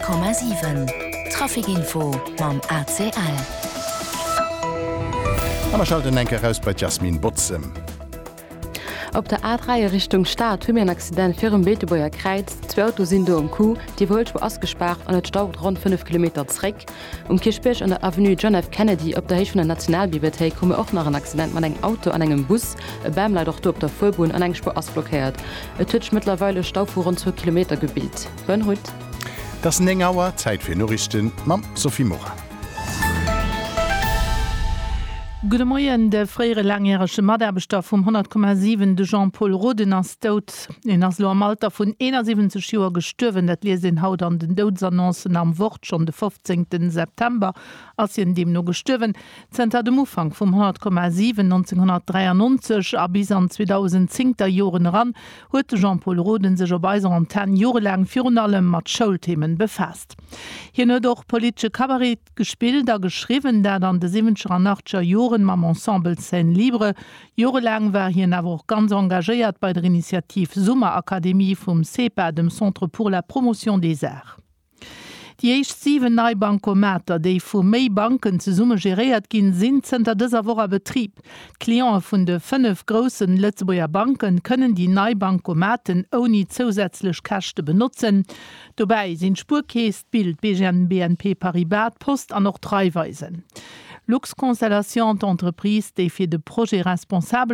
100,7 Trafic Info mam ACL. A mer schalten eng Kéier raus bei d'Jasmine Bozem. Op der A3 a Richtung Stad hu mir en Accident virum Beetebuerger Kräiz. Zwou Autoe sinn do am Coup. D'Iwwerhuelspuer ass gespaart an et staut ronn 5 Kilometer zréck. Um Kierchbierg an der Avenue John F. Kennedy op der Héicht vun der Nationalbibliothéik hu mir och nach en Accident mat engem Auto an engem Bus. E Bam leit och do op der Fuerbunn an eng Spuer ass blockéiert. Et huet sech mëttlerweil e Stau vu ronn zwou Kilometer gebilt. Bonne route. Et ass 9 Auer, Zäit fir Noriichten mam Sophie Morang. Gudde Moien, De fréiere laangjärege Mataarbechter vum 100,7, de Jean-Pol Roden, ass dout. Hien ass elo am Alter vun 71 Joer gestuerwen. Dat liest een haut an den Doudesannoncen am Wort. Schonn de 15 September ass hien deemno gestuerwen. Zënter dem Ufank vum 100,7 1993 a bis an d'Zweedausendzehnter Joren eran huet de Jean-Pol Roden sech op eiser Antenn jorelaang virun allem mat Schoulthemen befaasst. Hien huet och politesche Cabaret Gespillt a geschriwwen, dat an de siwwenzeger an achtzeger Joren mam Ensemble Scène Libre. Jorelaang war hien awer och ganz engagéiert bei der Initiativ Summerakademie vum CEPA, dem Centre pour la promotion des arts. Déi éischt 7 nei Bancomater, déi vu méi Banken zesumme geréiert ginn, sinn zënter dëser Woch a Betrib. D'Cliente vun de 5 groussen Lëtzebuerger Banken kënnen déi nei Bancomaten ouni zousätzlech Käschte benotzen. Dobäi sinn d'Spuerkeess, d'Bild, d'BGN, BNP Paribas, d'Post an och d'Raiffeisen. Luxconstellation, d'Entreprise, déi fir de Projet responsabel.